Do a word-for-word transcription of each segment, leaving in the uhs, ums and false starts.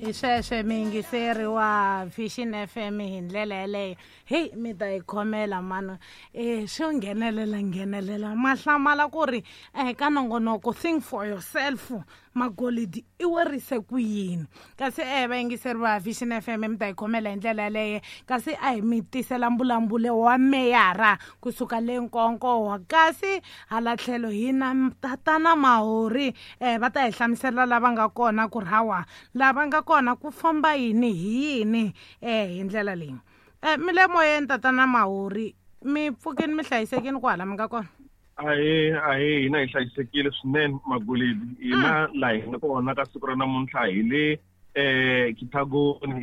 Hi sweswe miyingiseri wa Vision F M hi ndlela yeleyo. Heyi mi ta yi khomela mani um swo nghenelela nghenelela ma hlamala ku ri um ka nongonoko think for yourself magolidi i werise ku yini. Kasi um vayingiseri va Vision F M mi ta yi khomela hi ndlela yeleyo. Kasi a hi mi tisela mbulavulo wa meyara kusuka le Nkonkowa. Kasi hala tlhelo hi na tatana Mahori um va ta hi hlamusela lava nga kona ku ri hawa lava nga kona ku famba yini hi yini um hi ndlela leyi. Um mi le moyeni tatana Mahori, mi pfukini mi hlayisekini kwala mi nga kona? Ahee, ahee, hina hi hlayisekile swinene Magolidi. Hina laha hi nga kona ka siku ra namuntlha hi le eh Kithagoni,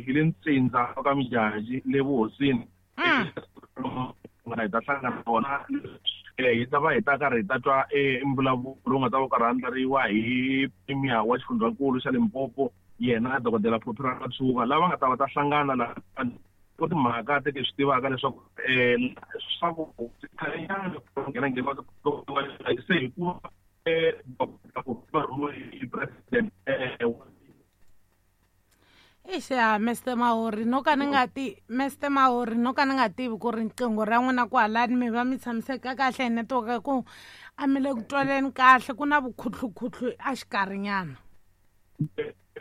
hi le Ntsindza ka Mijaji le vuhosini. Hi ta hlangana kona hi ta va hi ta karhi hi ta twa mbulavulo lowu nga ta va karhi andlariwa hi premier wa xifundzankulu xa Limpopo, yena dokodela Phophi Ramathuba, lava nga ta va ta hlangana laha ku timhaka teke swi tivaka leswaku um swa ku khalenyana nghena nghena se hikuva va rhumiwe hi president. Eixa Mister Mahori no ka ni nga ti Mister Mahori no ka ni nga tivi ku ri riqingho ra n'wina kwalani mi va mi tshamiseka kahle hi network ku a mi le ku twaleni kahle ku na vukhutlukhutlu a xikarhinyana.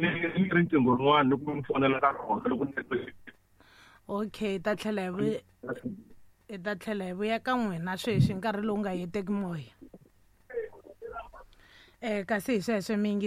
Ni riqingho rin'wana ni ku mi fonela ka rona loko ni. Okay, ta tlhela hi vuya hi ta tlhela hi vuya ka n'wina sweswi nkarhi lowu nga heteki moya. Eh kasi hi sweswe mi yingis